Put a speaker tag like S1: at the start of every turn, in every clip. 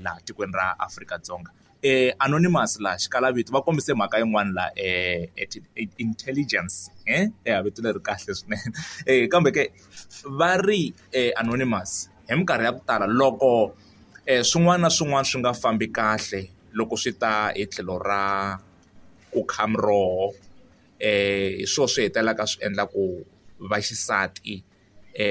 S1: laha tikweni ra Afrika-Dzonga. Anonymous laha xikalavito va kombise mhaka yin'wana la intelligence ya vito leri kahle swinene kambe ke va ri anonymous hi minkarhi ya ku tala loko swin'wana na swin'wana swi nga fambi kahle loko swi ta hi tlhelo ra ku kha miroho hi swona swi hetelelaka swi endla ku vaxisati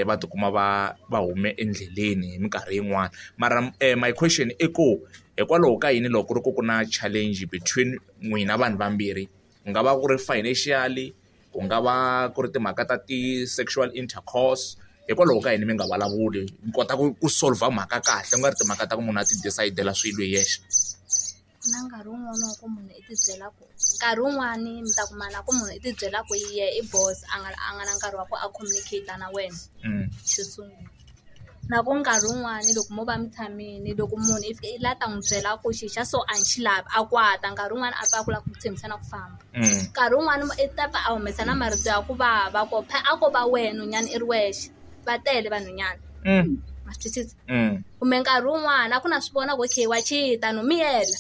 S1: va tikuma va va hume endleleni hi minkarhi yin'wani mara my question i ku hikwalaho ka yini loko ku ri ku ku na challenge between n'wina vanhu vambirhi ku nga va ku ri financially ku nga va ku ri timhaka ta ti-sexual intercourse hikwalaho ka yini mi nga vulavuli mi kota ku solver mhaka kahle ku nga ri timhaka ta ku munhu a ti decide-ela swilo hi yexe.
S2: Ku na nkarhi wun'wani wa ku munhu i ti byela ku nkarhi wun'wani mi ta kuma na ku munhu i ti byela ku yehe i boss a nga a nga na nkarhi wa ku a communicate na wena xo sungula na ku nkarhi wun'wani loko mo va mi tshamile loko munhu i fika i la ta n'wi byela ku xi xa so a ni xi lavi a kwata nkarhi wun'wani a pfa a ku lava ku tshembisa na ku famba nkarhi wun'wani i ta pfa a humesa na marito ya ku vava ko a ko va wena nhwnyana i ri wexe va tele vanhwanyana ma swi twisisa kumbe nkarhi wun'wani a ku na swi vona ku okay wa cheat-a no miyela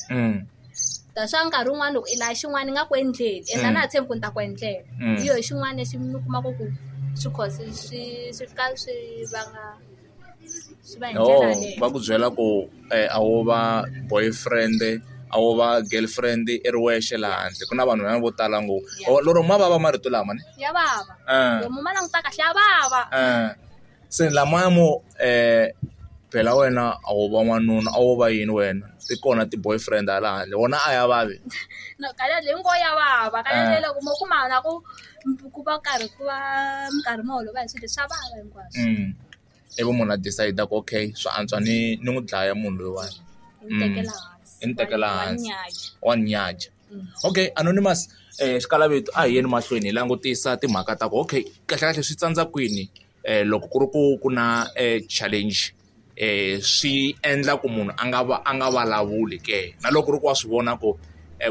S2: that's why nkarhi wun'wani loko i lava xin'wana i nga ku endleli ende a na ha tshembi ku ni ta ku endlela hi yoho xin'wana lexi mi kumaka ku swi cause swi swi fika swi vanga swi va hi ndlela yaleyo.
S1: Va ku byela ku a wo va boyfriend a wo va girlfriend i ri wexe laha handle ku na vanhu vo tala ngopfu lero ma vava marito lama ne
S2: ya vava loko mo ma languta kahle ya vava.
S1: Se lamaya mo phela wena a wo va n'wanuna a wo va yini wena ti kona ti-boyfriend hala handle wona a ya vavi.
S2: No kahle leyi ngo ya vava kahle loko mo kuma na ku ku va karhi ku va mi karhi mi holova hi swilo swa vava hinkwaswo.
S1: Ivi munhu a decide ku okay swa antswa ni ni n'wi dlaya munhu loyiwani.
S2: Ni tekela hansi.
S1: I ni tekela hansi wa ni nyaja. Okay anonymous xikalavito a hi yeni mahlweni hi langutisa timhaka ta ku okay kahlekahle swi tsandza kwini loko ku ri ku ku na challenge swi endla ku munhu a nga va a nga vulavuli ke na loko ku ri ku wa swi vona ku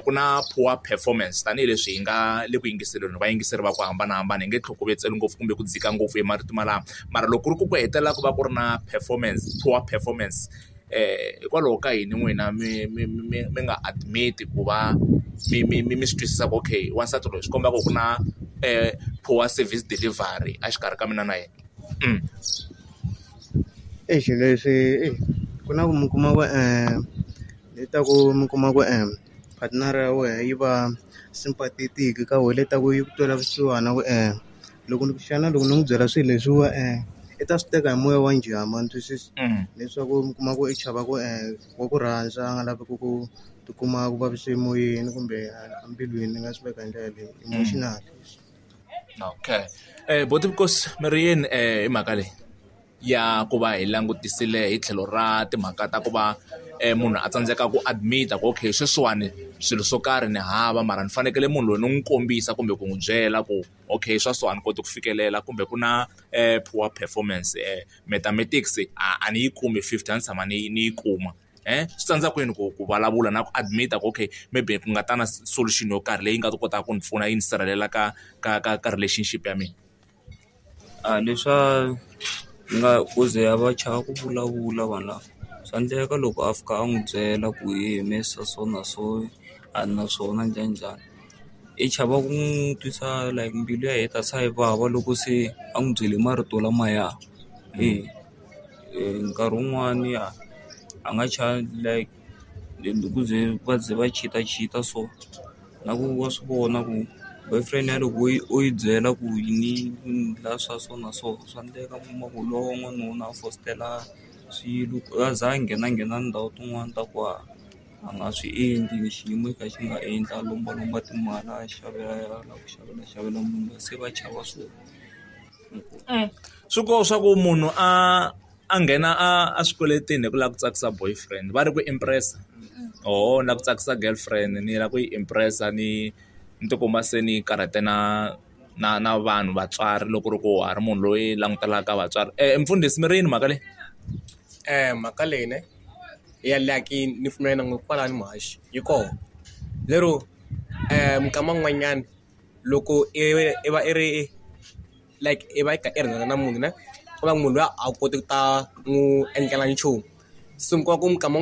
S1: ku na poor performance tanihileswi hi nga le ku yingiseleni vayingiseri va ku hambanahambana hi nge tlhokovetseli ngopfu kumbe ku dzika ngopfu hi marito malamo mara loko ku ri ku ku hetelela ku va ku ri na performance poor performance hikwalaho ka yini n'wina mi mi mi mi nga admit ku va mi mi mi mi swi twisisa ku okay wansati loyi swi komba ku ku na poor service delivery exikarhi ka mina na yena.
S3: Exi leswi ku na ku mi kuma ku le ta ku mi kuma ku partner ya wena yi va sympathetic ka wena le ta ku yi ku twela vusiwana ku loko ni xana loko ni n'wi byela swilo leswiwa i ta swi teka hi moya wa njhani ma ni twisisa leswaku mi kuma ku i chava ku wa ku rhandza a nga lavi ku ku tikuma ku vavise emoyeni kumbe embilwini ni nga swi veka hi ndlela leyi emotionally.
S1: Okay buti Vukosi mi ri yini hi mhaka leyi ya ku va hi langutisile hi tlhelo ra timhaka ta ku va munhu a tsandzeka ku admit-a ku okay sweswiwani swilo swo karhi ni hava mara ni fanekele munhu loyi ni n'wi kombisa kumbe ku n'wi byela ku okay swa so a ni koti ku fikelela kumbe ku na poor performance mathematics a ni yi kumi 50 a ni tshama ni ni yi kuma swi tsandza kwini ku ku vulavula na ku admit-a ku okay maybe ku nga ta na solution yo karhi leyi nga ta kotaka ku ni pfuna yi ni sirhelela ka ka ka ka relationship ya mina.
S4: A leswa nga ku ze a va chava ku vulavula vanhu lava swa endleka loko a fika a n'wi byela ku he mehe swa so na so a ni na swona njhaninjhani i chava ku n'wi twisa like mbilu ya yena yi ta se yi vava loko se a n'wi byele marito lamaya e nkarhi wun'wani a nga chavi like ku ze va ze va cheat-a so na ku wa swi vona ku boyfriend ya loko o yi byela ku ni la swa so na so swa endleka u kuma ku lowa n'wanuna a fositela swilo a za a nghenanghena ndhawu tin'wani ta ku a a nga swi endli xiyimo xi kha xi nga endli a lombalomba timali a xavela a lava ku xavela xavela munhu se va chava swona.
S1: Swi koho swa ku munhu a a nghena a a swikweletini hi ku lava ku tsakisa boyfriend va ri ku impress-a oho ni lava ku tsakisa girlfriend ni lava ku yi impress-a ni ni tikuma se ni karhate na na na vanhu vatswari loko ku ri ku wa ha ri munhu loyi langutelaka vatswari mfundhisi mi ri yini mhaka leyi.
S5: Mhaka leyi ne ya like ni pfumela na n'wina kwalano muhaxi yi kona lero minkama yin'wanyana loko i va i ri like i va i kha i rhandzana na munhu ne ku va munhu luya a wu koti ku ta n'wi endlela nchumu se mi kuma ku minkama.